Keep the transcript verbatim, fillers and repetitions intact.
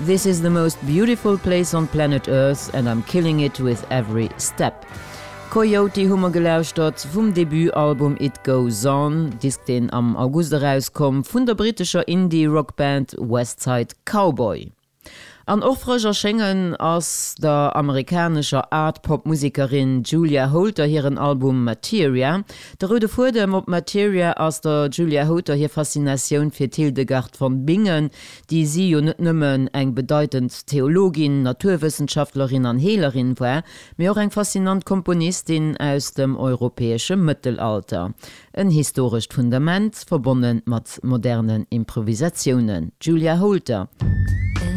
This is the most beautiful place on planet Earth and I'm killing it with every step. Coyote hu mer gelauschtert vum Debutalbum It Goes On, Disk deen am August erauskoum vun der brittescher Indie-Rockband Westside Cowboy. An och frësch erschéngen ass der amerikanescher Art-Pop-Musekerin Julia Holter hiren Album Materia. De roude Fuedem op Materia ass der Julia Holter hir Faszinatioun fir d'Hildegard von Bingen, déi si jo net nëmmen eng bedeitend Theologin, Naturwëssenschaftlerin an Heelerin war, mee och eng faszinant Komponistin aus dem europäesche Mëttelalter. En historescht Fundament, verbonne mat modernen Improvisatiounen. Julia Holter.